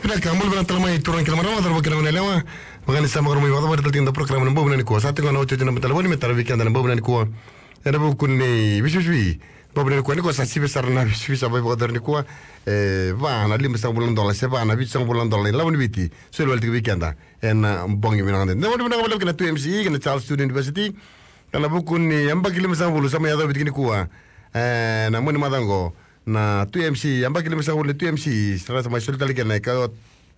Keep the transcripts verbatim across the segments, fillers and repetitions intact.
Vinaka, bula vinaka tale mai turaga kei na marama, cauravou kei na goneyalewa. Vaka ni sa vakarau mai vakacavara tale tiko na porokaramu ena bogi vinaka nikua. Sa tiko na iotioti na mataqali ni me tara vei keda ena bogi vinaka nikua. Ena vuku ni veisivisivi, bogi vinaka nikua, nikua sa sivi sara na veisivisivi sa mai vakayacori nikua. E va na limasagavulu na dola, se va na vitusagavulu na dola na ilavo ni Viti. Soli wale tiko vei keda ena bogi vinaka nikua. Na bogi vinaka vakalevu kei na Two M C E kei na Charles Sturt University. Ena vuku ni yabaki limasagavulu sa mai yacovi tiko nikua. E, na mua ni macawa oqo na Two M C E, yabaki limasagavulu ni Two M C E, sa ra sa mai soli tale kina na ika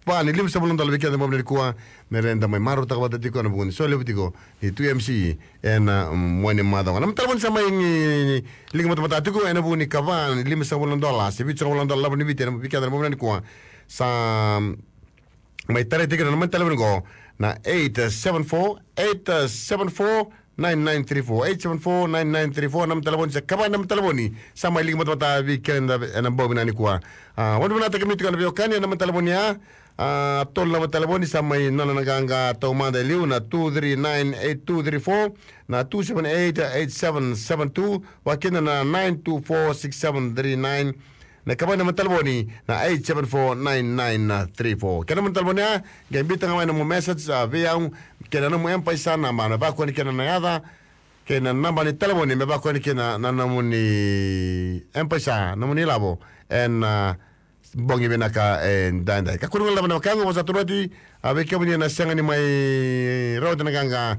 va ni limasagavulu na dola vei keda ena bogi vinaka nikua. Me ra da mai marautaka vata tiko ena vuku ni solevu tiko ni Two M C E ena mua ni macawa oqo. Na noda talevoni sa mai liga matamata tiko ena vuku ni ika va ni limasagavulu na dola se vitusagavulu na dola na ilavo ni Viti ena vei keda ena bogi vinaka nikua. Sa mai tarai tiko na noda talevoni oqo, na eight seven four, eight seven four, nine nine three four, eight seven four, nine nine three four, na noda talevoni se ika va na noda talevoni sa mai liga matamata vei keda ena bogi vinaka nikua. A, vakavinakataki kemuni tiko na veiwekani ena noda talevoni ya. A, tolu na noda talevoni sa mai nona na qaqa taumada e liu, na two three nine eight two three four, na two seven eight eight seven seven two, vaka kina na nine two four six seven three nine. Na ika va na noda talevoni na eight seven four nine nine three four. Kei na noda talevoni ya, qai biuta ga mai na nomu message, a, vei au, kei na nomu M-PAiSA naba, me vakani kina na yaca kei na naba ni talevoni, me vakani kina na nomuni M-PAiSA, nomuni ilavo ena, a, bogi vinaka edaidai. Kakua ni guilecavi na wekaqu, vosa tu oti, a, vei kemuni na sega ni mai rawati na qaqa,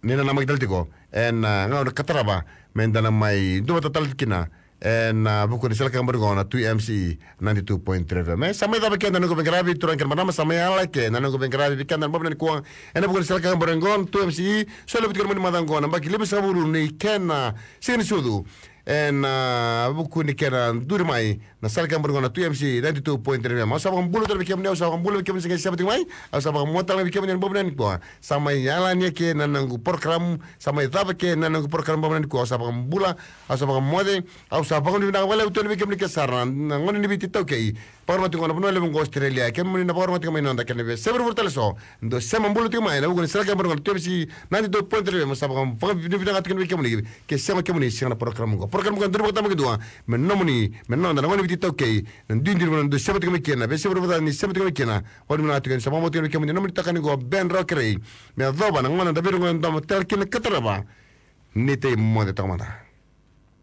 ni na namaki tale tiko ena, a, gauna ka tarava me da na mai duavata tale kina ena, a, vuku ni sala ka bori oqo na Two M C E ninety-two point three F M. E, sa mai cava keda na noqu veiqaravi, turaga kei na marama, sa mai yala eke na noqu veiqaravi vei keda ena bogi vinaka nikua ena vuku ni sala ka bori oqo na Two M C E. Solevu tiko ena mua ni macawa oqo na yabaki limasagavulu ni kena siga ni sucu. Ena, a, vuku ni kena duri mai na sala ka bori oqo na Two M C E ninety-two point three F M. Au sa vakabula tale vei kemuni, au sa vakabula vei kemuni se qai sema tiko mai. Au sa vakamoce tale vei kemuni ena bogi vinaka nikua. Sa mai yalani eke na noqu porokaramu, sa mai cava eke na noqu porokaramu bogi vinaka nikua. Au sa vakabula, au sa vakamoce, au sa vakanuinui vinaka vakalevu tu yani vei kemuni kece sara na gone ni Viti iTaukei. Vakarorogo tiko na vanua levu oqo Australia, kemuni na vakarorogo tiko mai noda kei na veiyasai vuravura tale eso. Dou sema bula tiko mai ena vuku ni sala ka bori oqo na Two M C E ninety-two point three F M. Sa vaka, vakanuinui vinaka tiko yani vei kemuni. Ke sega o kemuni, sega na porokaramu oqo. Porokaramu oqo e duri vakatabakidua me nomuni, me noda na gone ni Viti iTaukei. Na duidui ni vanua dou sema tiko mai kina, veiyasai vuravura ni sema tiko mai kina. Vakanuinui vinaka tiko yani, sa vakabauta tiko yani vei kemuni na nomuni itokani oqo Ben Rawa Kerei. Me yacova na gauna da veirogoci ena domo tale kina ka tarava. Ni tei moce toka mada.